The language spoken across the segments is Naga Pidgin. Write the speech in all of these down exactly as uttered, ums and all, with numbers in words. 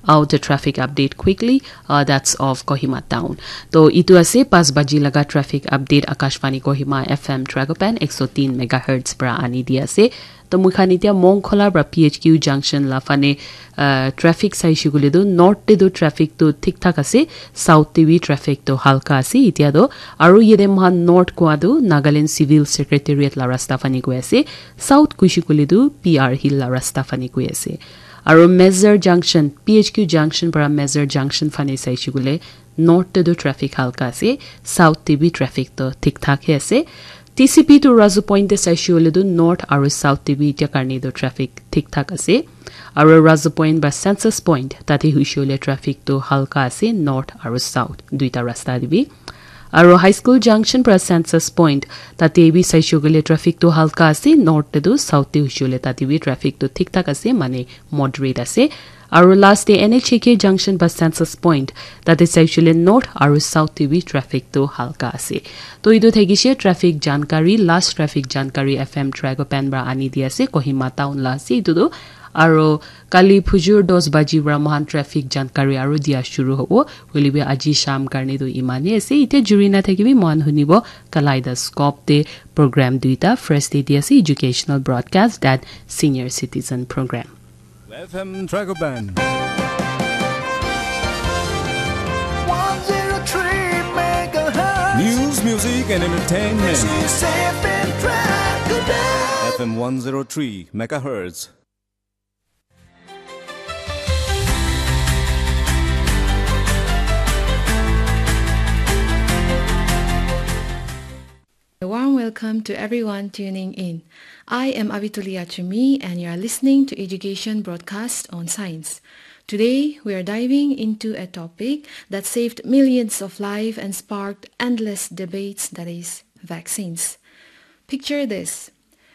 Out the traffic update quickly, uh, that's of Kohima town. To itu ase pas baji laga traffic update Akashvani Kohima F M Tragopan ek so tin megahertz pra ani di ase. To moi khan itia Mongkhola pra P H Q junction la fane, uh, traffic saishe koile tu north te tu traffic tu thik thak ase, south te bi traffic tu halka ase itia tu. Aru yate moi khan north koa tu Nagaland Civil Secretariat la rasta fane goi ase, south kuishe koile tu P R Hill la rasta fane goi ase. Aru Mezar Junction, P H Q Junction para Mezar Junction fane saishe koile north te tu traffic halka ase, south te bi traffic to thik thak he ase. T C P to Razu Point te saishe koile tu north aru south te bi itia karne tu traffic thik thak ase. Aru Razu Point ba Census Point tate hoishe koile traffic to halka ase, north aru south duita rasta te bi. Aru High School Junction pra Census Point tate bi saishe koile traffic tu halka ase, north te tu south te hoishe koile tate bi traffic tu thik thak ase, mane moderate ase. Aru last te N H A K Junction ba Census Point tate saishe koile north aru south te bi traffic tu halka ase. To itu thakishe traffic jankari, last traffic jankari F M Tragopan pra ani di ase, Kohima town la ase itu tu. Aru kali phujur dos baji pra moikhan traffic jankari aru dia shuru hobo. Hoile bi aji sham karne tu imane ase. Itia juri na thakibi, moikhan hunibo Kaleidoscope te program duita. First te dia ase educational broadcast, that senior citizen program. F M Tragopan. One zero three megahertz. News, music, and entertainment. This is F M Tragopan. F M one zero three megahertz. A warm welcome to everyone tuning in. I am Avituli Achumi, and you are listening to Education Broadcast on Science. Today, we are diving into a topic that saved millions of lives and sparked endless debates, that is, vaccines. Picture this,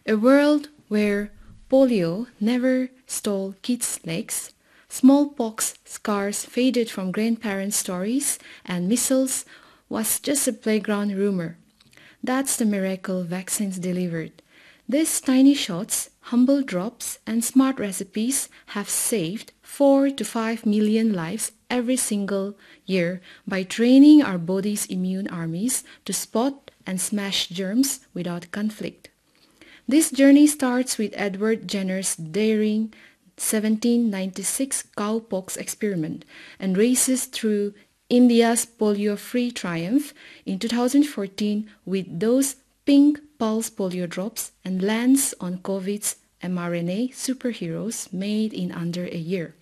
a world where polio never stole kids' legs, smallpox scars faded from grandparents' stories, and measles was just a playground rumor. That's the miracle vaccines delivered. These tiny shots, humble drops, and smart recipes have saved four to five million lives every single year by training our body's immune armies to spot and smash germs without conflict. This journey starts with Edward Jenner's daring seventeen ninety-six cowpox experiment and races through India's polio-free triumph in two thousand fourteen with those pink pulse polio drops and lands on COVID's mRNA superheroes made in under a year.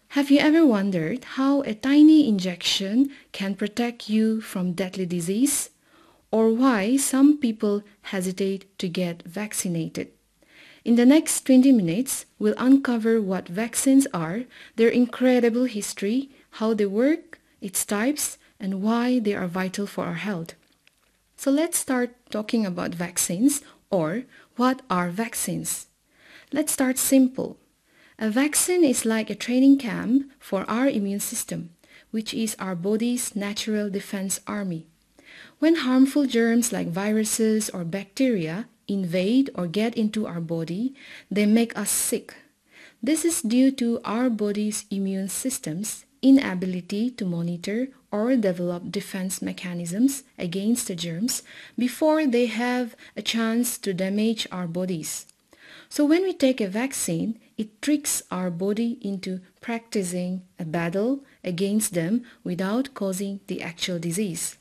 Have you ever wondered how a tiny injection can protect you from deadly disease? Or why some people hesitate to get vaccinated? In the next twenty minutes, we'll uncover what vaccines are, their incredible history, how they work, its types, and why they are vital for our health. So let's start talking about vaccines, or what are vaccines? Let's start simple. A vaccine is like a training camp for our immune system, which is our body's natural defense army. When harmful germs like viruses or bacteria invade or get into our body, they make us sick. This is due to our body's immune system's inability to monitor or develop defense mechanisms against the germs before they have a chance to damage our bodies. So when we take a vaccine, it tricks our body into practicing a battle against them without causing the actual disease.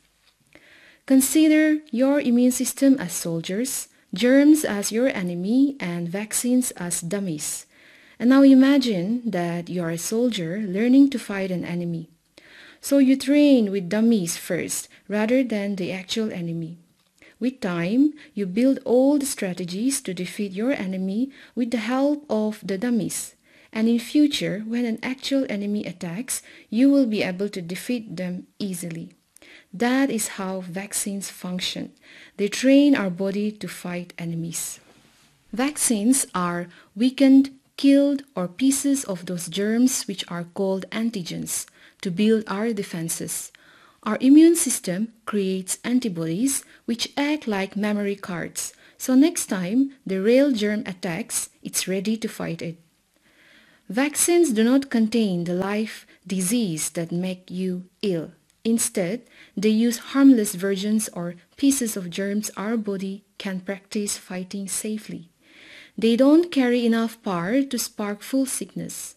Consider your immune system as soldiers, germs as your enemy, and vaccines as dummies. And now imagine that you are a soldier learning to fight an enemy. So you train with dummies first, rather than the actual enemy. With time, you build all the strategies to defeat your enemy with the help of the dummies. And in future, when an actual enemy attacks, you will be able to defeat them easily. That is how vaccines function. They train our body to fight enemies. Vaccines are weakened, killed, or pieces of those germs which are called antigens to build our defenses. Our immune system creates antibodies which act like memory cards. So next time the real germ attacks, it's ready to fight it. Vaccines do not contain the live disease that make you ill. Instead, they use harmless versions or pieces of germs our body can practice fighting safely. They don't carry enough power to spark full sickness.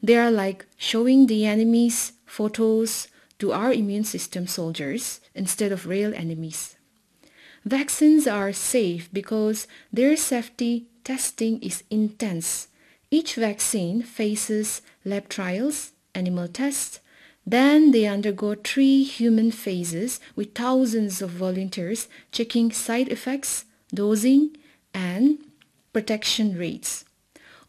They are like showing the enemy's photos to our immune system soldiers instead of real enemies. Vaccines are safe because their safety testing is intense. Each vaccine faces lab trials, animal tests, then they undergo three human phases with thousands of volunteers checking side effects, dosing, and protection rates.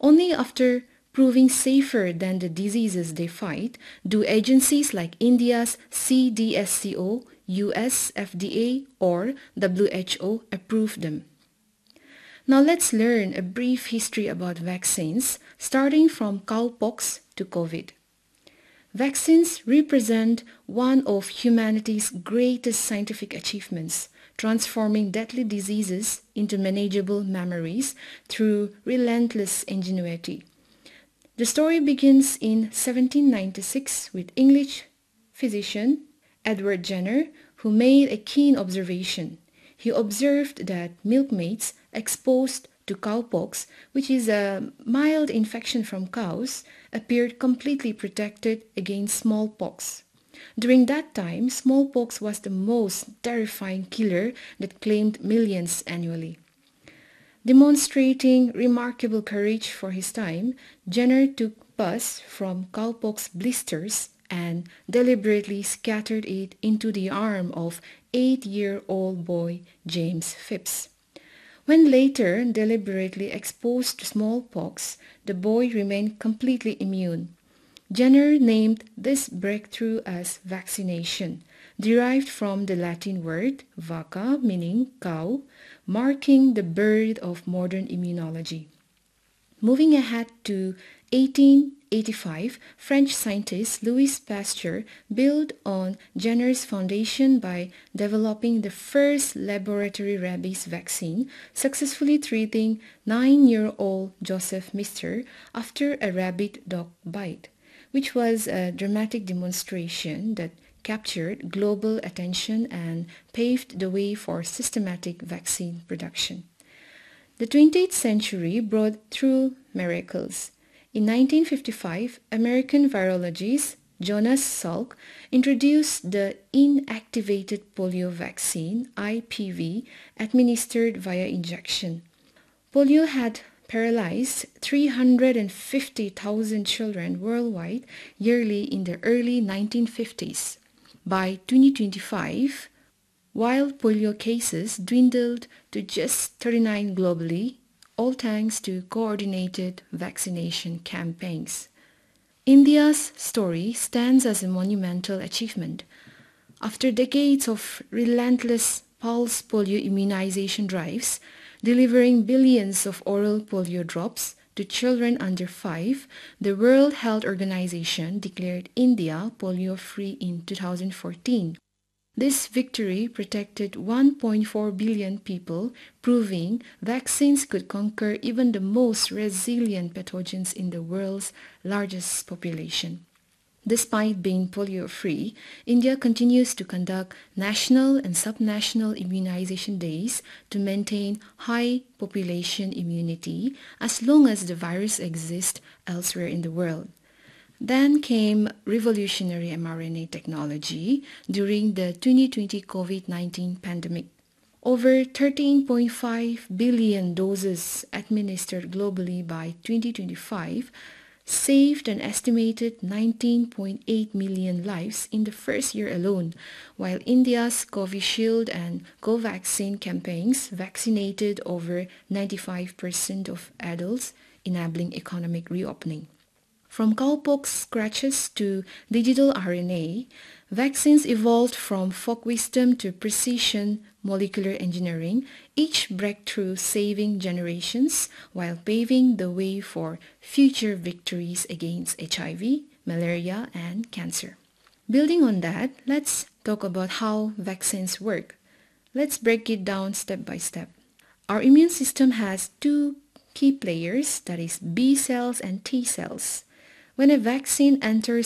Only after proving safer than the diseases they fight do agencies like India's C D S C O, U S F D A, or W H O approve them. Now let's learn a brief history about vaccines, starting from cowpox to COVID. Vaccines represent one of humanity's greatest scientific achievements, transforming deadly diseases into manageable memories through relentless ingenuity. The story begins in seventeen ninety-six with English physician Edward Jenner, who made a keen observation. He observed that milkmaids exposed to cowpox, which is a mild infection from cows, appeared completely protected against smallpox. During that time, smallpox was the most terrifying killer that claimed millions annually. Demonstrating remarkable courage for his time, Jenner took pus from cowpox blisters and deliberately scattered it into the arm of eight year old boy James Phipps. When later deliberately exposed to smallpox, the boy remained completely immune. Jenner named this breakthrough as vaccination, derived from the Latin word vacca, meaning cow, marking the birth of modern immunology. Moving ahead to eighteen eighty-five, French scientist Louis Pasteur built on Jenner's foundation by developing the first laboratory rabies vaccine, successfully treating nine year old Joseph Mister after a rabid dog bite, which was a dramatic demonstration that captured global attention and paved the way for systematic vaccine production. The twentieth century brought through miracles. In nineteen fifty-five, American virologist Jonas Salk introduced the inactivated polio vaccine, I P V, administered via injection. Polio had paralyzed three hundred fifty thousand children worldwide yearly in the early nineteen fifties. By twenty twenty-five, while polio cases dwindled to just thirty-nine globally, all thanks to coordinated vaccination campaigns. India's story stands as a monumental achievement. After decades of relentless pulse polio immunization drives, delivering billions of oral polio drops to children under five, the World Health Organization declared India polio free in two thousand fourteen. This victory protected one point four billion people, proving vaccines could conquer even the most resilient pathogens in the world's largest population. Despite being polio free, India continues to conduct national and subnational immunization days to maintain high population immunity as long as the virus exists elsewhere in the world. Then came revolutionary mRNA technology during the twenty twenty COVID nineteen pandemic. Over thirteen point five billion doses administered globally by twenty twenty-five saved an estimated nineteen point eight million lives in the first year alone, while India's Covishield and Covaxin campaigns vaccinated over ninety-five percent of adults, enabling economic reopening. From cowpox scratches to digital R N A, vaccines evolved from folk wisdom to precision molecular engineering, each breakthrough saving generations while paving the way for future victories against H I V, malaria, and cancer. Building on that, let's talk about how vaccines work. Let's break it down step by step. Our immune system has two key players, that is B cells and T cells. When a vaccine enters